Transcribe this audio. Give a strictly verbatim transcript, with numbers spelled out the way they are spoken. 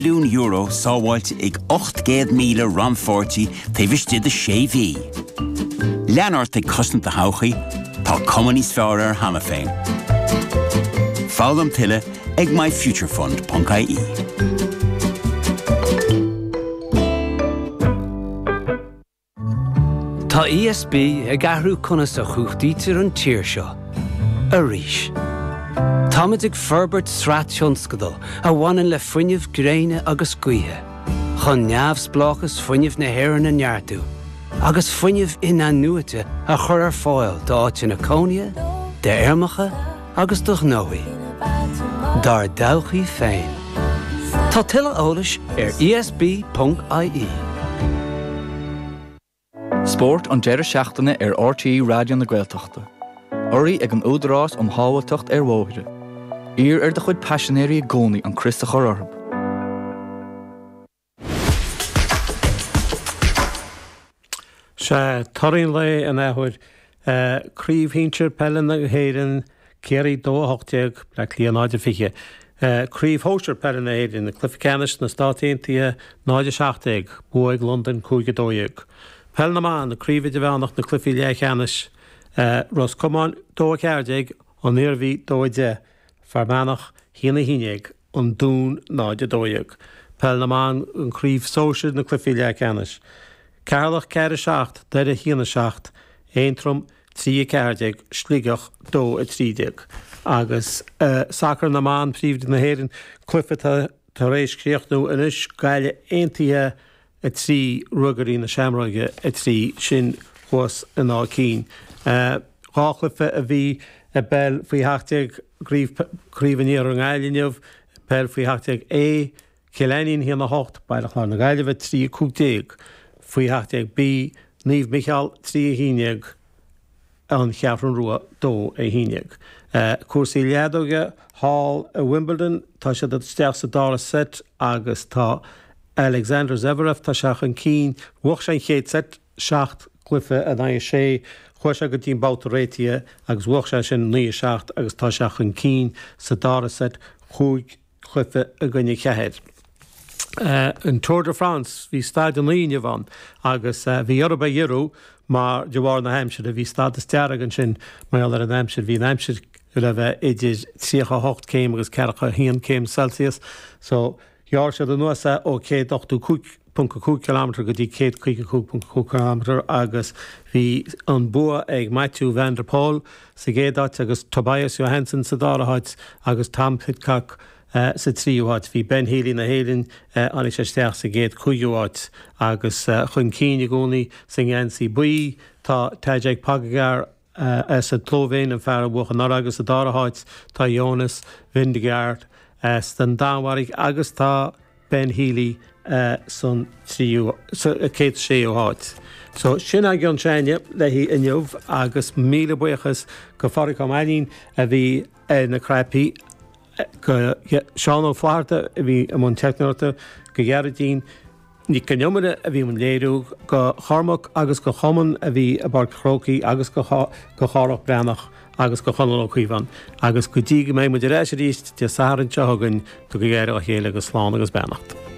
milliún euro sábháilte ag ocht gcéad míle rannpháirtí taobh istigh de sé mhí. Lean ort ag cosaint do thodhchaí, tá cuma níos fearr air cheana féin. Foghlaim tuilleadh ag myfuturefund.ie. Tá ESB ag athrú conas a chumhachtaítear an tír seo. Arís. Táimid ag forbairt sraith tionscadal a bhaineann le fuinneamh gréine agus gaoithe, chun neamhspleáchas fuinnimh na hÉireann a neartú, agus fuinneamh in-athnuaite a chur ar fáil d'áiteanna cónaithe, d'fheirmeacha agus do ghnóthaí. Dár dtodhchaí féin. Tá tuilleadh eolais ar ESB.ie. Spórt an deireadh seachtaine ar RTÉ Raidió na Gaeltachta. Urraithe ag an Údarás um Shábháilteacht ar Bhóithre. Iarr ar do chuid paisinéirí i gcónaí an crios a chur orthu. Sea, torthaí an lae an athuair. Craobh Shinsir Peile na hÉireann, Ciarraí dó a hocht déag, Bleá Cliath náid a fiche. Craobh Shóisir Peile na hÉireann, Cluiche Ceannais na Stát Aontaithe náid a seacht déag, bua ag Londain cúig a dó dhéag. Peil na mBan, Craobh Idirmheánach na Cluichí Leathcheannais, Ros Comáin dó a ceathair déag, An Iarmhí dó a deich, Fear Manach haon a haon déag, An Dún náid a dó dhéag. Peil na mBan, an Chraobh Sóisir na Cluichí Leathcheannais, Ceatharlach ceathair a seacht, Doire haon a seacht, Aontroim trí a ceathair déag, Sligeach dó a trí déag. Agus sacar na mban, Príomhroinn na hÉireann, cluiche atá tar éis críochnú anois, Gaillimh Aontaithe a trí, Ruagairí na Seamróige a trí, sin thuas in Áth Cinn. Dhá chluiche a bhí i bpeil faoi sheacht déag Craobh an Iarthair i nGaillimh inniu, peil faoi sheacht déag A, Cill Ainnín a haon a hocht, Baile Chláir na Gaillimhe trí a cúig déag, faoi sheacht déag B, Naomh Micheál trí a haon déag, An Cheathrú Rua dó a haon déag. Cúrsaí leadóige thall i Wimbledon, tá siad isteach sa dara seit agus tá Alexander Zverev, tá sé chun cinn, bhuaigh sé an chéad seit, seacht gcluiche in aghaidh a sé, chuaigh sé go dtí an babhta réitithe agus bhuaigh sé sin naoi a seacht agus tá sé chun cinn sa dara seit, cúig chluiche i gcoinne ceathair. An Tour de France, bhí staid a naoi inniu ann agus bhí orthu é ghiorrú mar de bharr na haimsire. Bhí stádas dearg ansin mar gheall ar an aimsir. Bhí an aimsir le bheith idir tríocha a hocht céim agus ceathracha a haon céim Celsius so ghearr siad anuas é ó céad ochtó cúig ponc a cúig kilometre go dtí céad caoga cúig ponc a cúig kilometre agus bhí an bua ag Mathieu van der Poel sa gcéad áit agus Tobias Johansson sa dara háit agus Tom Pidcock sa tríú háit. Bhí Ben Healy na hÉireann, tháinig sé isteach sa gcéad cúigiú háit agus chun cinn i gcónaí sa ngeansaí buí tá Tadej Pogacar as an tSlóivéin, an fear a bhuaigh anuraidh agus sa dara háit tá Jonas Vingegaard as an Danmhairg agus tá Ben Healy san tríú, sa chéad séú háit. So sin ag an seine léi inniu agus míle buíochas go Phádraig Ó Mainnín a bhí ar na cnaipí, go Seán Ó Flatharta a bhí i mbun teicneoireachta, go Gearóidín Nic an Iomaire a bhí i mbun léiriú, go Chormac agus go Chumann a bhí i bPáirc an Chrócaigh agus go Chárthach Breathnach agus go Chonall Ó Caomháin. Agus go dtí go mbeidh muid ar ais arís Dé Sathairn seo chugainn, tugaigí aire dá chéile agus slán agus beannacht.